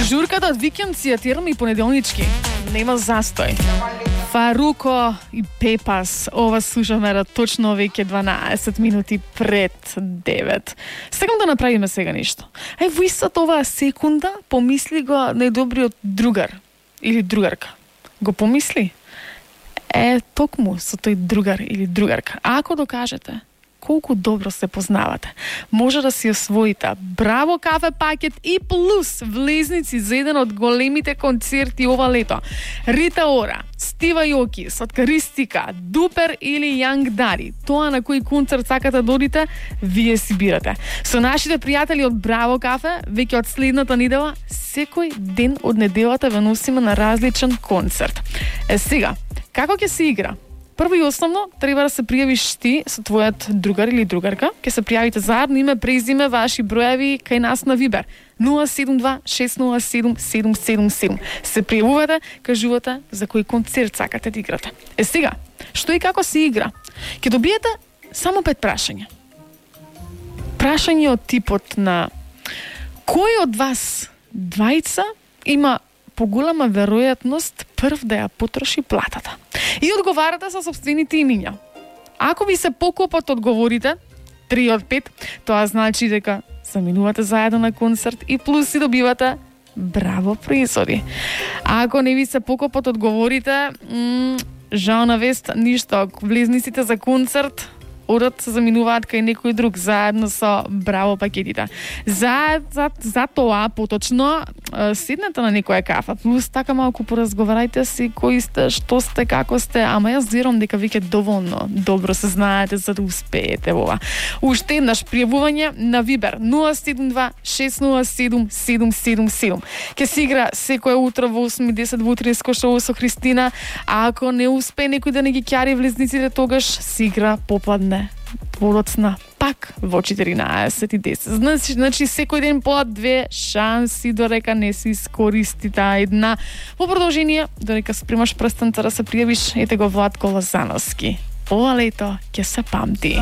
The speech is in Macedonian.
Журката од викенд си ја терам и понеделнички. Нема застој. Фаруко и Пепас. Ова слушаме точно веќе 12 минути пред 9. Сакам да направиме сега нешто. Ај во истата оваа секунда помисли го најдобриот другар или другарка. Го помисли? Токму со тој другар или другарка. Ако докажете колку добро се познавате, може да си освоите Браво кафе пакет и плюс влезници за еден од големите концерти ова лето. Рита Ора, Стива Јоки, Соткаристика, Дупер или Јанг Дари. Тоа на кој концерт сакате да одите, вие си бирате. Со нашите пријатели од Браво кафе, веќе од следната недела, секој ден од неделата ве носиме на различен концерт. Сега, како ќе се игра? Прво и основно, треба да се пријавиш ти со твојот другар или другарка. Ке се пријавите заедно, име, презиме, ваши броеви кај нас на Вибер. 072-607-777. Се пријавувате, кажувате за кој концерт сакате да играте. Сега, што и како се игра? Ке добиете само 5 прашања. Прашање од типот на кој од вас двајца има поголема веројатност прв да ја потроши платата. И одговарате со сопствените имиња. Ако ви се покопот одговорите 3 од 5, тоа значи дека заминувате заедно на концерт и плюс си добивате Браво производи. А ако не ви се покопот одговорите, жал на вест, ништо, влезниците за концерт одат се заминуваат кај некој друг заедно со Браво пакетите. За тоа поточно седнете на некоја кафа, плюс така малку поразговарајте си кои сте, што сте, како сте, ама јас верувам дека веќе доволно добро се знаете за да успеете ова. Уште еднаш пријавување на Вибер 072-607-777. Ке се игра секој утро во 8:10 во утринско шоу со Христина, а ако не успее некој да не ги ќари влезниците, тогаш се игра попладне подоцна пак во 14:10. Значи секој ден по 2 шанси дорека не се искористи таа една. Во продолжение, дорека спремаш прстенца да се пријавиш, ете го Владко Лозановски. Ова лето ќе се памти.